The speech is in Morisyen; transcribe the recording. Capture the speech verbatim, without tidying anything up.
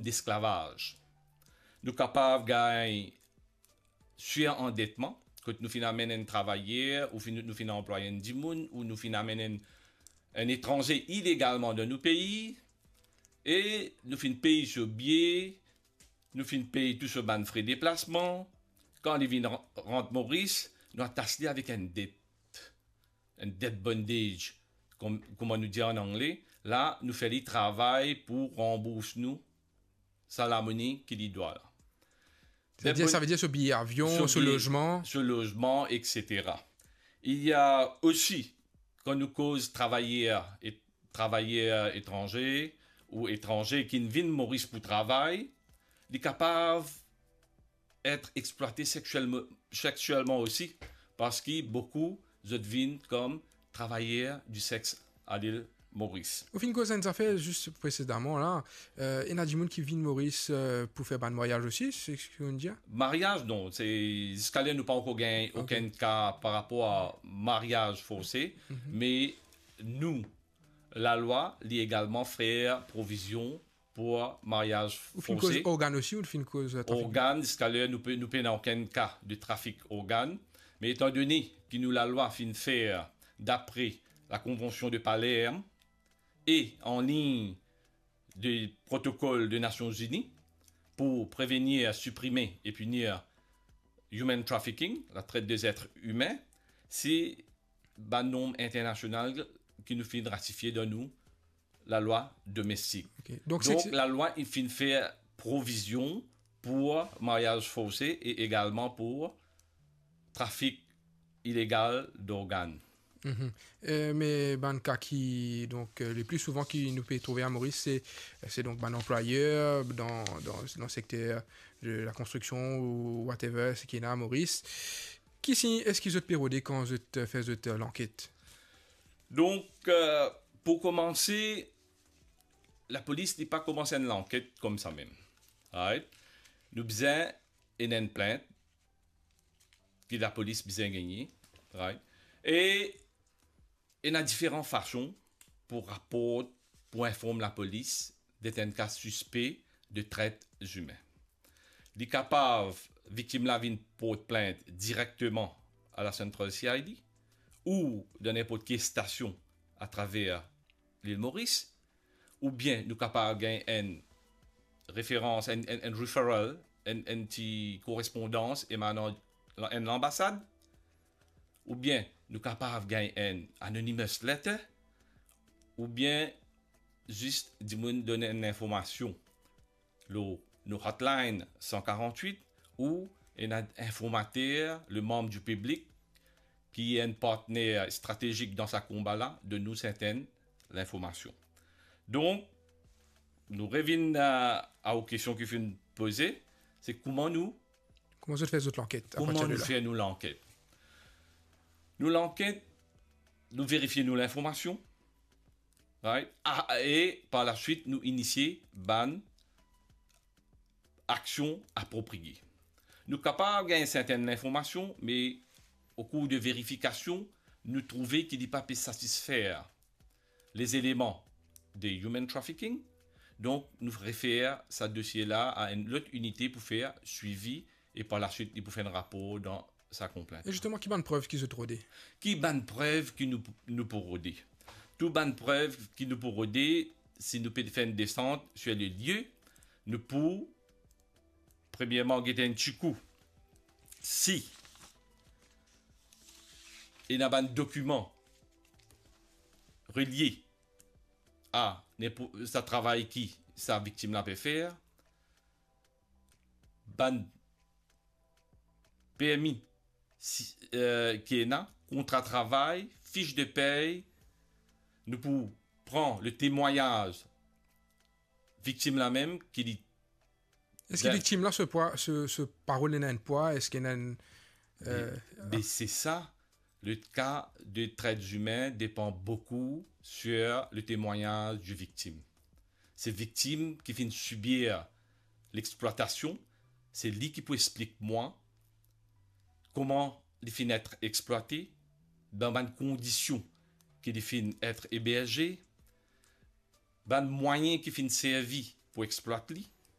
desklavaz. Nou kapav gagn sirandetman, kot nou finn amenn enn travayer, ou finn, nou finn anplway enn dimoun, ou nou finn amenn enn, enn etranze ilegalman dan nou pei, e nou finn pey so bie, nou finn pey tou so bann fre deplasman. Kan li vinn ran-, rant Moris, nou atas li avek enn det, enn debt bondage, kom-, kouma nou dir an angle. La, nou fer li travay pou ranbours nou sa lamone ki li dwa la. Savedir, savedir so biye avion, so lozman, so lozman, et cetera. Il y a aussi, kan nou koz travayer e, travayer etranze ou etranze ki vinn Moris pou travay, li kapav et eksplwate sekselman, sekselman osi, parski boukou zot vinn kom travayer di seks a lil Moris. Ou finn koz enn zafer zis presedaman la, eh, ena dimoun ki vinn Moris, eh, pou fer bann maryaz osi, se seki ou dir? Maryaz, non. Se, ziska la nou pa ankor gagn okenn ka par rapor a maryaz forse, me nou, lalwa, li egalman fer provizion pou maryaz forse. Ou finn koz organ osi, ou finn koz, eh, trafik? Organ, ziska la nou pe, nou pena okenn ka de trafik organ, me etandone ki nou lalwa finn fer dapre la Konvansion de Palerme e an lign de protokol de Nasion Zini pou prevenir, siprime e pinir human trafficking, la traite des êtres humains, se bann norm internasional ki nou finn ratifie dan nou lalwa domestik. Ok. Donk, se, donk, lalwa, li finn fer provizion pou maryaz forse e egalman pou trafik ilegal dorgan. Mhm. Eh, me bann ka ki, donk, eh, le pli souvan ki nou pe trouve a Moris, se, se donk bann anplwayer dan, dan, dan sekter de la konstriksion ou whatever, seki ena a Moris. Ki sign eski zot pe rode kan zot, eh, fer zot, eh, lanket? Donk, eh, pou koumanse, lapolis li pa koumans enn lanket koumsa mem. Right? Nou bizin ena enn plint ki lapolis bizin gagne, right? E ena diferan fason pou raport, pou inform lapolis de enn ka sispe de tret zimin. Li kapav, viktim la vinn port plint direkteman a la Central C I D ou dan ninport ki stasion atraver lil Moris, oubien nou kapav gagn enn referans, enn, enn, enn referral, enn, enn ti korespondans emanan la-, enn lanbasad, oubien nou kapav gagn enn anonymous letter, oubien zis dimoun donn enn linformasion lor nou hotline san karant-wit, ou enn informater, le manm di piblik, ki enn partner stratezik dan sa konba la, donn nou sertenn linformasion. Donk, nou revinn a, a ou kestion ki finn poze, se kouma nou, kouma zot fer zot lanket, a partir de la? Kouma nou fer nou lanket? Nou lanket, nou verifie nou linformasion, right? A, e par laswit, nou inisie bann aksion apropriye. Nou kapav gagn sertenn linformasion, me o kour de verifikasion, nou trouve ki li pa pe satisfer lezeleman de human trafficking. Donk, nou refer sa dosie la a enn lot inite pou fer swivi e par laswit, li pou fer enn rapor dan sa konplint. E zisteman, ki bann prev ki zot rode? Ki bann prev ki nou, nou pou rode? Tou bann prev ki nou pou rode, si nou pe fer enn desant sur le lieu, nou pou, premierman, gete enn ti kou si ena bann dokiman relie a ninport sa travay ki sa viktim la pe fer, bann permi si, eh, ki ena, kontra travay, fich de pey, nou pou pran le temwagnaz viktim la mem ki li... Eski viktim la, so pwa, so, so parol ena enn pwa, eski ena enn, eh... Be, be se sa, le ka de tret zimin depann boukou sur le temwagnaz di viktim. Se viktim ki finn sibir lexplwatasion, se li ki pou explik mwa kouma li finn et explwate, dan bann kondision ki li finn et eberze, bann mwayin ki finn servi pou explwat li,